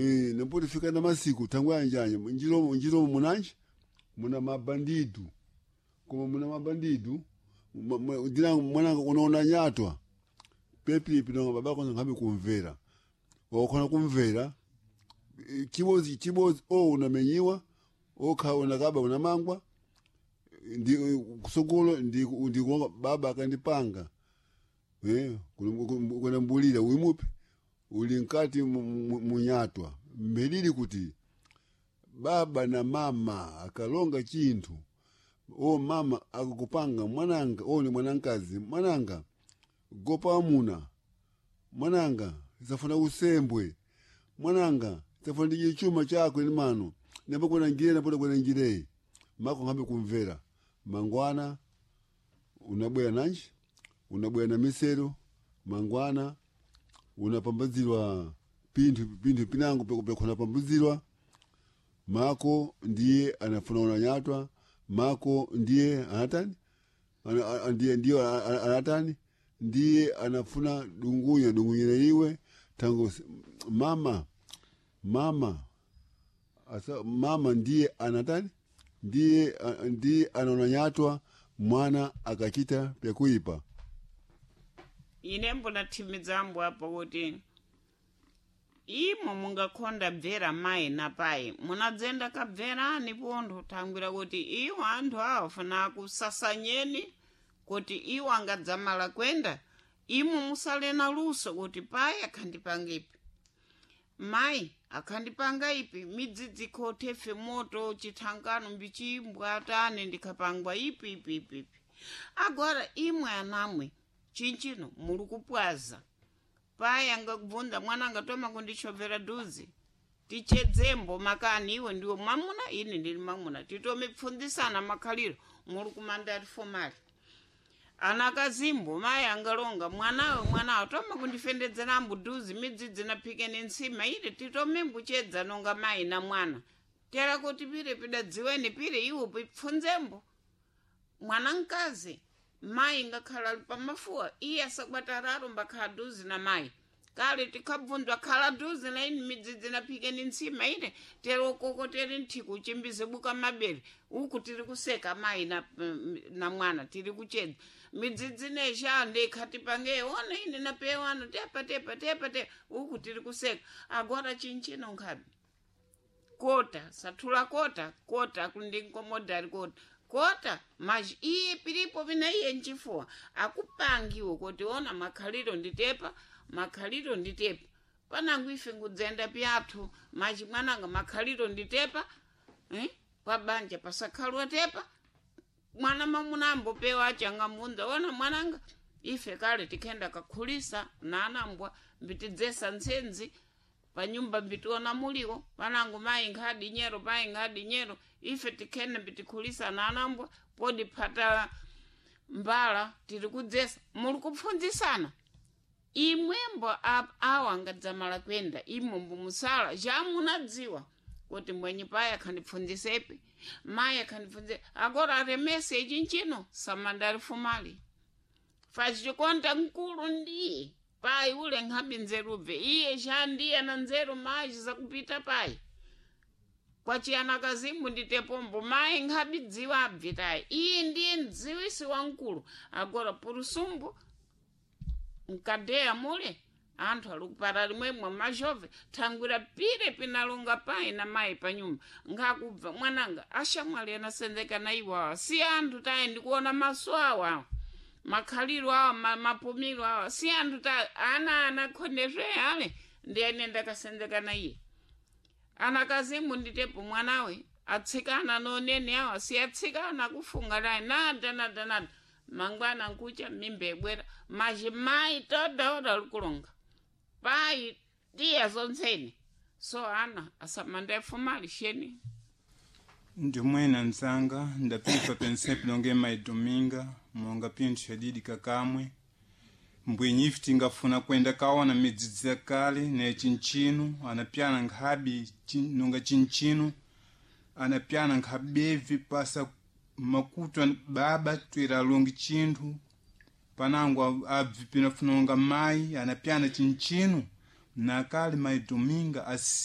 Nampo fika na masiku tangu anjanya njiro njiro munanji muna mabandidu koma muna mabandidu dina mwananga unaona nyatwa pepi pinonga babako ngabe kumvera wakona kumvera chibozi chibozi o unamenyiwa okha unakaba unamangwa ndi kusogolo ndi ndi baba akandipanga kuna mbulira uimupe uli nkati munyatwa mbelili kuti baba na mama akalonga chinthu o mama akakupanga mwananga o ni mwanankazi mwananga gopa amuna mwananga safuna usembwe mwananga safuna ndije chuma chako ni mano nembo kuna ngire napo kuna ngire mako ngambe kumvera mangwana unabwera nanji unabwera na misero mangwana unapambazirwa pinthu pinthu pinango pekuna pambazirwa mako ndiye anafuna unanyatwa mako ndiye anatani ndiye ndiye anatani ndiye anafuna dungunya dungunyire iwe tangu mama mama asa mama ndiye anatani ndiye ndiye anaonanyatwa mwana akachita pyakuipa. Ine mbona thimidzambo apo kuti imo mungakhonda bvera mayi na payi munadzenda kabverani pontho thangwira kuti iwo anthu awo funa kusasanyeni kuti iwo angadzamala kwenda imo musale na luso kuti payi akhandipanga ipi mayi akhandipanga ipi midzidzi khothefe moto chithangano mbichimbwa atani ndikhapangwa ipi ipi ipi ipi agora imwe anamwe chinchino muli kupwaza payi angakubvunza mwana angatoma kundichovera dhuzi tichedzembo makani iwe ndiwe mwamuna ine ndili mwamuna titomipfundzisana makhaliro muli kumandari fomali anakazimbo mayi angalonga mwanawe mwanawe toma kundifendedzerambo dhuzi midzidzi naphike ni ntsima ile titomimbuchedza nonga mayi na mwana tera kuti pire pidadziweni pire iwo pipfundzembo mwana mkazi mayi ngakhala ali pamafuwa iye asakwatararo mbakhala duzi na mayi kale tikhabvunzwa khala duzi na ini midzidzi naphike ni ntsima ine tere ukoko tere nthiku uchimbize buka mabere uku tiri kuseka mayi na, na mwana tiri kuchedza midzidzi nesha ndikhati pange ona ine napewano tepa tepa tepa tepa uku tiri kuseka agora chinchino nkhabi kota sathula kota kota kundinkomodari kota kota maji iye pilipo vina iye nchifuwa akupangiwe kuti ona makhaliro nditepa makhaliro nditepa panangu ife ngudzenda pyathu maji mwananga makhaliro nditepa eh? pabanja pasakhalwa tepa mwana mamuna ambopewa achangamunda ona mwananga ife kale tikhenda kakhulisa nanambwa mbitidzesa ntsenzi panyumba mbitiona muliwo panangu mayi nkhadi nyero mayi nkhadi nyero ife tikhene mbitikhulisa nanambwa podi phata mbala tiri kudzesa muli kupfundzisana imwembo awa angadzamala kwenda imombo musala jamunadziwa kuti mwenye payi akhandipfundzisepi mayi akhandipfundzise agora aremese ichinchino samandari fumali fachikonta mkulu ndiye payi ule nkhabi nzerubve iye shandiye na nzeru mayi zakupita payi kwachiyana kazimu nditepombo mayi nkhabi dziwa abvitayi iye ndiye mdziwisi wamkulu agora purusumbu mkadeya mule anthu ali kupata limwemwe majove thangwira pire pinalonga payi na mayi panyumba nkhakubva mwananga ashamwali anasenzeka na iwawa si anthu tayi ndikuona maso awa makhaliro awa mapumiro awa si anthu ta ana anakhondezwe ale ndi ene ndakasenzeka na iye anakazimu nditepo mwanawe atsikana nonene awa si atsikana kufunga naye nada nada nada mangwana nkucha mimba ibwera majimayi todaoda likulonga payi tiya zontsene so ana asamandefumali sheni Ndimwena nzanga ndapifa pensepi longe maidominga monga pinthu shadidi kakamwe mbwinyifi tingafuna kwenda kaona midzidzi ya kale ne chinchino anapyana nkhabi nonga chinchino anapyana nkhabevi pasa makutu baba twera alongi chinthu panango abvi pinafunonga mayi anapyana chinchino nakale maidominga